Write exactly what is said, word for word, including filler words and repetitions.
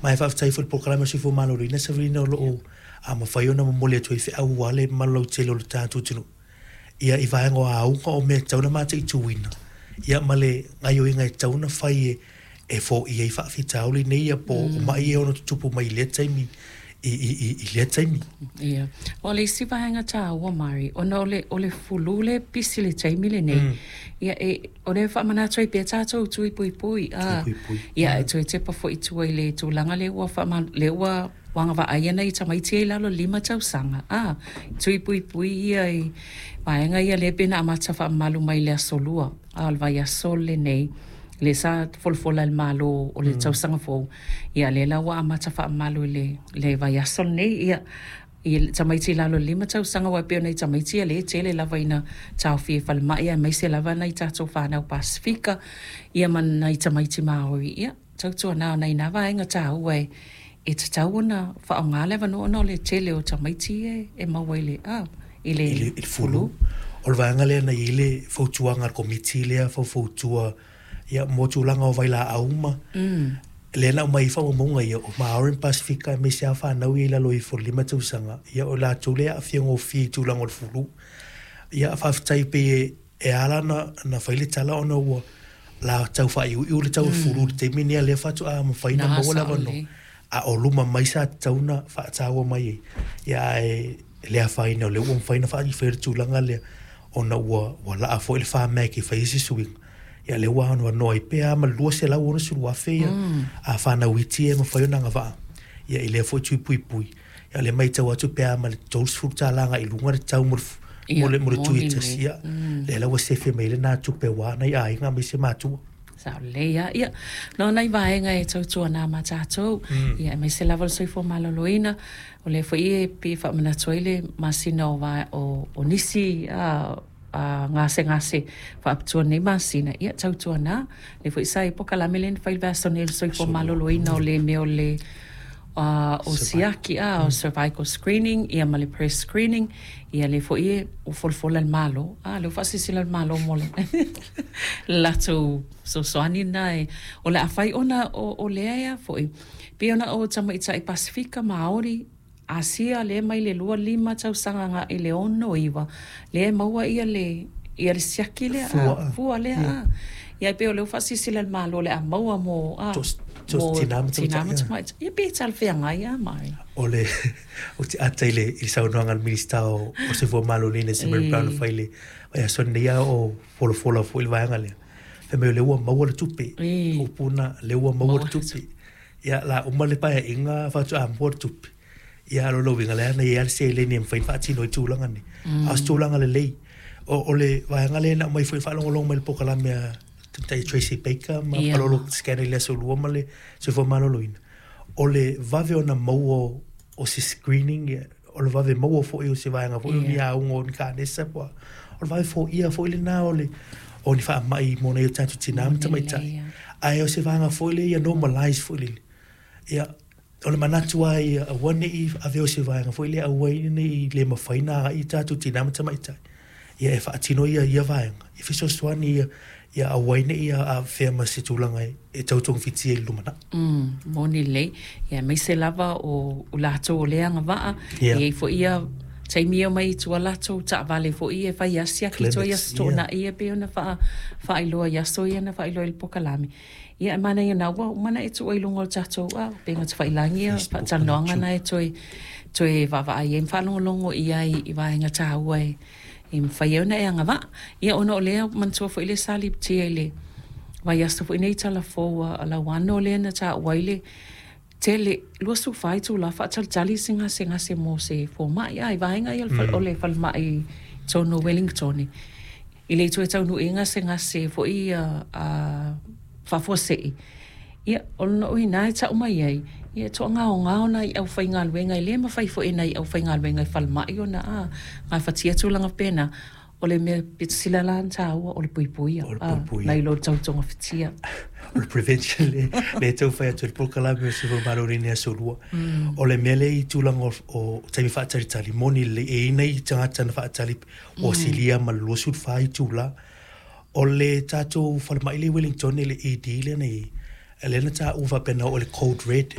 Ma e faafetai foi i le polokalame o le Soifua Maloloina, Savelina, o lo o a mafai ona momoli atu ai feau aua le mamalu lautele o le tatou atunuu, ia i vaega o auga o mea e tatau ona mataituina, ia ma le gaoioiga e tatau ona fai e e foia ai faafitauli nei ia po o mai e ono tutupu mai i lea taimi i, i, i, i lea taimi. Ia. O le isi vaega taua, Mari, ona o le, o le fulu le pisi le taimi lenei. Mm. Ia, e, o le faamanatu ai pea tatou tui puipui. Ah, Puipui. Ia, e toe tepa foi i tua i le tulaga le ua faama, le ua agavaa ai nai tamaiti i lalo lima tausaga. Ah, tui puipui ia i vaega ia le pe na amata faamamalu mai le aso lua. Ah, o le vaiaso lenei le sa folafola i le Malo o le mm. tausaga fou. Ia, le la ua amata faamamalu i le, le vaiaso lenei. Ia, i tamaiti i lalo lima tausaga ua pei ona i tamaiti ia le tele lava ina taofia i falemai aemaise lava nai tatou fanau Pasifika ia ma nai tamaiti Maori. Ia, tautuana o nai nā vaega taua e e tatau ona faaaoga le avanoa ona o le tele o tamaiti e, e maua i le, ah, i le, i le, i le fulu. O le vaega lea na i ai le fautuaga a le komiti lea faufautua ia mo tulaga o vailaau ma mm. lea na aumai ai faamaumauga ia o Maori ma Pasifika aemaise lava fanau ia i lalo ifo o le lima tausaga ia o latou lea e aafia gofie i tulaga o le fulu. Ia faafetai pei e, e ala na, na fai le tala ona ua la tau faaiuiu le tau mm. fulu i le taimi nei lea faatoa mafai na Na, maua le sao avanoa. lelei. A o luma mai sa tatau na faataua mai ai. Ia ae le afaina o lea ua mafai na faaifaia le tulaga lea ona ua, ua laa foi le FAMAC e fai ai se suiga. Ia lea ua anoanoa ai pea ma le luaselau onosefulu afe ia Mm. a fanau iti e mafai ona agavaa. Ia i lea foi tui puipui. Ia lea matau atu pe a ma le tolusefulu tala agai i luga le tau mo le fu- mo Ia, le, mo le tui moni tasi. lelei. Ia, Mm. lea la ua sefe mai lena tupe ua nai aiga aemaise matua. Sao lelei lava. Ia, no nai vaega e tautuana ma tatou. Mm. Ia, aemaise lava le soifua maloloina. O lea foi e pei faamanatu ai le masina o, va, o, o nisi a, a gasegase faapitoa nei masina. Ia, tautuana. Le foi sa i polokalame le na fai le vaiaso nei le soifua maloloina o le mea o le uh, o siaki a o cervical screening ia ma le breast screening ia le foi e o folafola le Malo a le faasilasila le Malo mo le latou fesoasoani na e o le a fai ona o, o lea ea foi pei ona o tamaitai Pasifika, Maori, Asia le mai le lua lima tausaga agai le ono iwa lea e maua ia le ia le siaki lea Fua, a, fua lea yeah. a ia pei o lea ua faasilasila le Malo le a maua mo a Tos- tos tina ma tina ma tamaitai, tamaitai ia pe talafeagai a mai. O le o te ata i le i le saunoaga a le Minista o o Soifua Maloloina Simon Brown E. fai le vaiaso nei a o folafola foi le vaega lea. Fai mai o lea ua maua le tupe. E. Upu na lea ua maua le Maua le tupe. Ia la uma le paeaiga faatoa maua le tupe. Ia o lona uiga lea na i ai le seleni e mafai ona faatino ai tulaga nei. A o se tulaga lelei. O, o le vaega lea na aumai foi faalogologo mai le polokalame a tamaitai Tracy Baker ma Ia. Palolo Scanner i le aso lua ma le Soifua Maloloina. O le vave ona maua o, o se screening, ia, o le vave maua foi o se vaega foi o ni Ia. auga o ni kanesa po. O le vave foia foi lena o le o ni faamai mo nai o tatou tina ma Moni tamaitai. lelei, ia. Ae o se vaega foi lea ia normalize foi lele. Ia, o le manatu ai ia aua nei ave o se vaega foi lea aua nei le mafai na agai i tatou tina ma tamaitai. Ia e faatino ia ia vaega. E fesoasoani ia ia aua nei ia afea ma se tulaga e, e tautogafitia i le lumanai. Mm, moni lelei. Ia, aemaise lava o, o latou o lea agavaa. Ia. E i ai foi ia taimi e omai i tua latou taavale foi e fai asiaki toe Clinics, aso toonai e pei ona faa faailoa i aso ia na faailoa i le polokalame. Ia, e manaia na ua uma na e tuu ai i luga o le tatou a upega tafailagi ia Facebook, faatalanoaga YouTube. na e toe toe vaavaai ai ma faalogologo i ai i vaega taua e e mafai ai ona e agavaa. Ia ona o lea manatua foi le sa lipotia i le vaiaso foi nei talafou a a Lauano lea na taua ai le tele luasefulu fa itulā faatalitali se gasegase mo se fomai a i vaega ia o le fale- o le falemai tonu o Wellington i le toe taunuuina gasegase foi ia a faafuasei. Ia o lona uiga e tau mai ai ia e toagaogao nai aufaigaluega e lē mafai foi e nai aufaigaluega i falemai ona a gafatia tulaga pena o le mea pito sila la na taua o le puipuia O le a puipuia. nai lo le tautogafitia. O le prevention le, le tau fai atu i le polokalame o le Soifua Maloloina i aso lua. O le mea lea i tulaga o, o taimi faatalitali, moni lelei, e i ai nai tagata na faatali ua silia ma le luasefulu fa itula. O le tatou falemai le i Wellington le E D lea na i ai, lea na taua faapena o le code red.